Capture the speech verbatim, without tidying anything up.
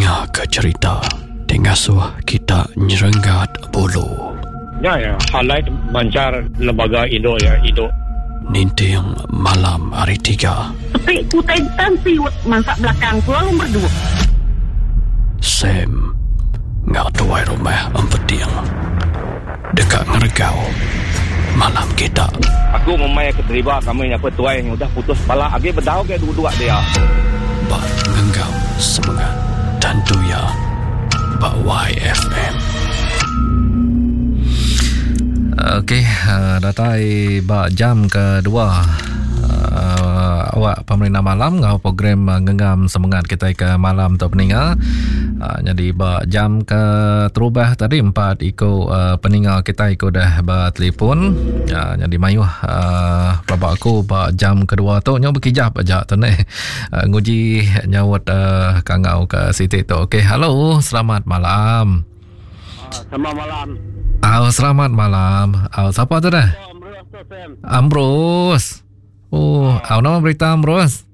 Ninga ke cerita ti ngasuh kita nyerenggat bulu. Ya ya, highlight mancar lembaga Indo ya, Indo. Ninting malam hari tiga. Tapi ku tan siut mansak belakang ku lalu berdua. Sam ngau tuai rumah empeting. Dekat ngeregau malam kita. Aku memai ke teriba kami nyapa tuai yang udah putus pala agi bedau ke dua-dua dia. Ba ngenggam semangat tentu ya ba Y F M. Okey, datai ba jam kedua uh, awak pemerintah malam ngau program ngenggam semangat kita ke malam tu peninga. Uh, jadi ba jam ke terubah tadi empat iko uh, peninga kita iko dah ba telefon. Uh, jadi mayuh uh, pelabak aku ba jam kedua tu nyo berkijap aja tu ne. Uh, nguji nyaut uh, kangau ke sitik tu. Okey, halo, selamat malam. Uh, selamat malam. Oh, selamat malam. Oh, siapa tu dah? Ambrose. Ambrose. Oh, oh, nama berita Ambrose?